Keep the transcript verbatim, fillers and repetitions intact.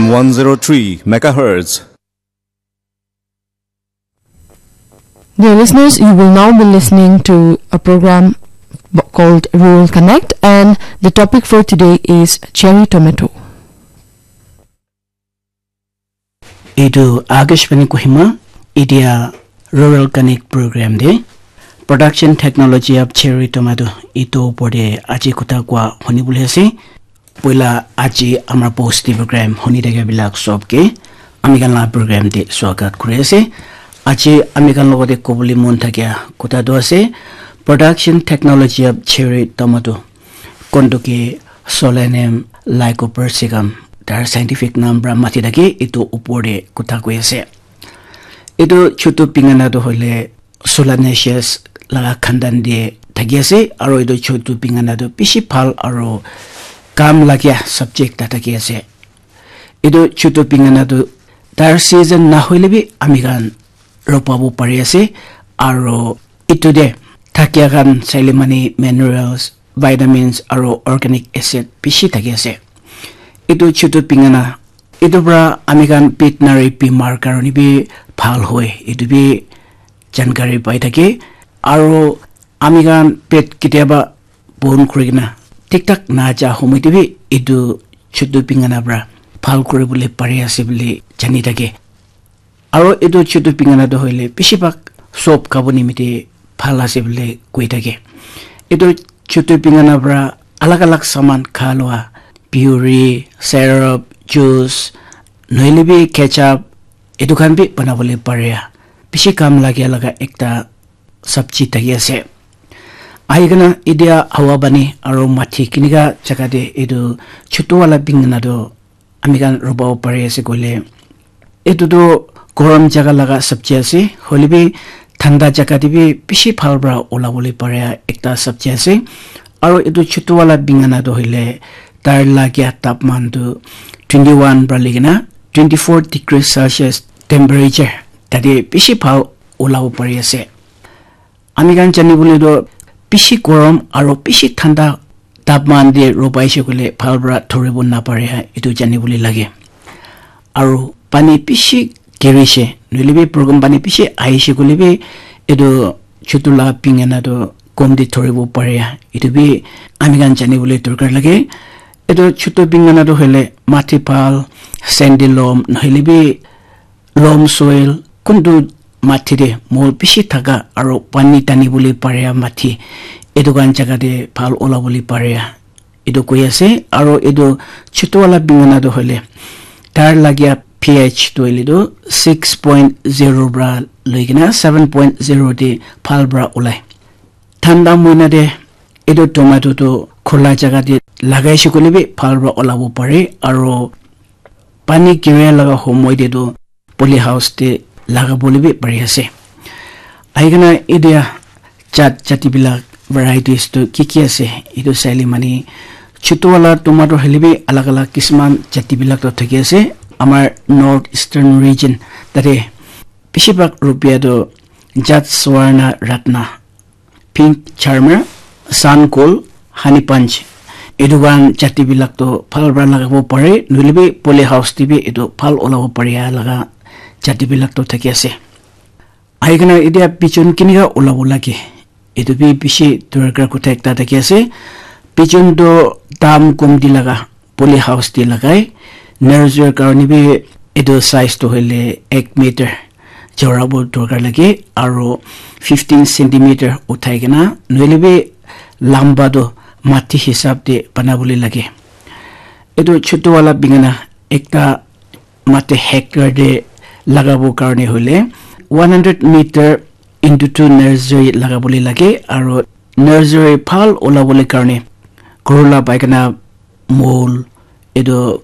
one zero three megahertz. Dear listeners, you will now be listening to a program b- called Rural Connect, and the topic for today is cherry tomato. Etu Akashvani Kohima, etia Rural Connect program de production technology of cherry tomato etu opor de aji kotha koa huni bole ase. Poila aji amar post de program huni thaka bilak sob ke ami khan la program de swagat kuri ase. Aji ami khan logote kobole mon thakia kotha tu ase production technology of cherry tomato. Konto ke Solanum lycopersicum, tar scientific name pra mati thake, etu upor te kotha koi ase. Etu chutu pingana tu hoile Solanaceae laga khandan te thaki ase, aro etu chutu pingana tu bishi bhal aro kam lagia subject ta thaki ase. Etu chutu pingana tu tar season na hoile bi ami khan ropabo pari ase, aro etu te thakia khan saile mane minerals, vitamins aro organic acid bishi thaki ase. Etu chutu pingana, etu pra ami khan veterinary bimar karone bi bhal hoi, etu bi jankari pai thake. Aro ami khan pet ketiaba bon kuri kena thik thak na ja homoi te bi etu chutu pingana pra bhal kuri bole pari ase bole jani thake. Aro etu chutu pingana tu hoile bishi bhag sob khabo nimite bhal ase bole koi thake. Etu chutu pingana pra alag alag saman kha lua, puree, syrup, juice, nohoile bi ketchup, etu khan bi bana bole pare. Bishi kam lagia laga ekta sabji thaki ase. Ahi kena etia hawa pani aro mati kinika jaga te etu chutu wala pingana tu ami khan robo pari ase koile, etu tu gorom jaga laga sabji ase, hoile bi thanda jaga te bi bishi bhal pra ola bole pare ekta sabji ase. Aro etu chutu wala pingana tu hoile tar lagia tapman tu twenty one pra loi kena twenty four degree Celsius temperature tate bishi bhal ola bo pari ase. Ami khan jani bole tu bishi gorom aro bishi thanda tapman te ropai se koile bhal pra thoribo na pare ha, etu jani bole lage. Aro pani bishi giri se, nohoile bi program pani bishi ahi se koile bi etu chutu la pingana tu kom te thoribo pare ha, etu bi ami khan jani bole dorkar lage. Etu chutu pingana tu hoile mati bhal, sandy loam, nohoile bi loam soil, kuntu mati te mol bishi thaka aro pani tani bole pare mati, etu khan jaga te bhal ola bole pare, etu koi ase. Aro etu chutu wala pingana tu hoile tar lagia pH tu hoile tu six point zero pra loi kena seven point zero te bhal pra olai. Thanda moina te etu tomato tu khula jaga te lagai se koile bi bhal pra ola bo pare, aro pani giria laga homoi te tu poly house te laga bole bi pari ase. Ahi kena etia jat jati bilak varieties tu ki ki ase, etu saile mane chutu wala tomato hoile bi alag alag kisman jati bilak tu thaki ase. Amar North Eastern region tate bishi bhag rupia tu jat Swarna Ratna, Pink Charmer, Sun Gold, Honey Punch, etu khan jati bilak tu bhal pra lagabo pare, nohoile bi poly house te bi etu bhal olabo pare laga jati bilak tu thaki ase. Ahi kena etia bijon kinika olabo lage, etu bi bishi dorkar kotha ekta thaki ase. Bijon tu dam komti laga poly house te lagai, nursery karone bi etu size tu hoile ek meter chora bo dorkar lage, aro fifteen centimeter uthai kena, nohoile bi lamba tu mati hisab te bana bole lage. Etu chutu wala pingana ekta mati hectare te lagabo karone hoile one hundred meter into two nursery laga bole lage, aro nursery bhal ola bole karone ghor la paikana mol, etu